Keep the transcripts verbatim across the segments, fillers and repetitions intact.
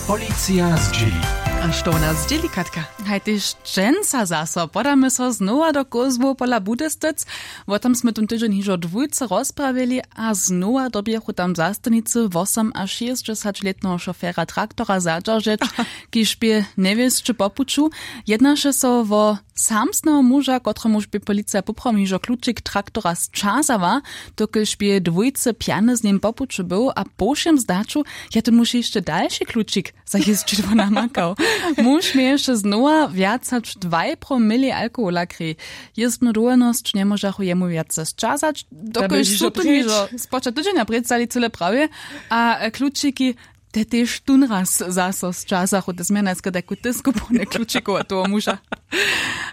Policija zdźěli. A što wona zdźěli, Katka? Haj, tež dźensa zaso podamy so znowa do kózłow pola Budystec. Wo tom smy tón tydźeń hižo dwójce rozprawili a znowa dyrbjechu tam zastanicy wosomašěsćdźesaćlětneho šofera traktora zadźeržeć, kiž bě njewěsće po puću. Jednaše so wo samsneho muža, kotremuž bě policija poprawom hižo klučik traktora sćazała, dokelž bě dwójce pjany z nim po puću był a po wšěm zdaću je tón muž hišće dalši klučik za jězdźidło namakał. Muž měješe znowa wjac hač dwaj promili alkohola kri. Jězbnu dowolnosć njemóžachu jemu wjace sćazać, dokelž su tón hižo spočatk tydźenja prěcali cyle prawje. A klučiki te tež tón raz zaso sćazachu, te změrnajske tajku tisku pone klučikowa toho muža.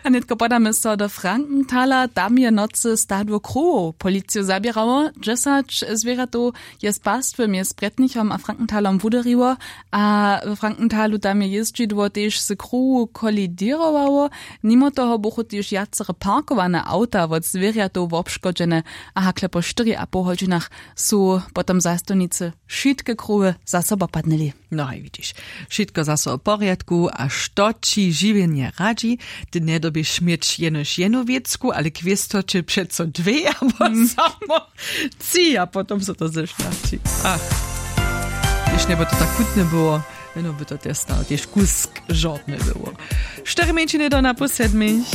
A nětko podamy so do Frankenthala. Tam je nocy stadło krowow policiju zaběrało. Dźesać zwěrjatow je z pastwy mjez Brjetnichom a Frankenthalom wuderjiło. A w Frankenthalu tam je jězdźidło tež z krowow koliděrowało. Nimo toho buchu tež wjacere parkowane awta wot zwěrjatow wobškodźene. A hakle po štyri a poł hodźinach su potom zastawnicy wšitke krowy zaso popadnyli. No haj, widźiš, wšitko zaso w porjadku. A što ći žiwjenje radźi? Ty njedyrbješ měć jenož jednu wěcku, ale kwěsto će přeco dwě abo samo tři a potom so to zeštarći. Ach, tež njeby to tak chutne było, jeno by to tež stał tež kusk žortne było. Štyri mjeńšiny do na pół sedmich.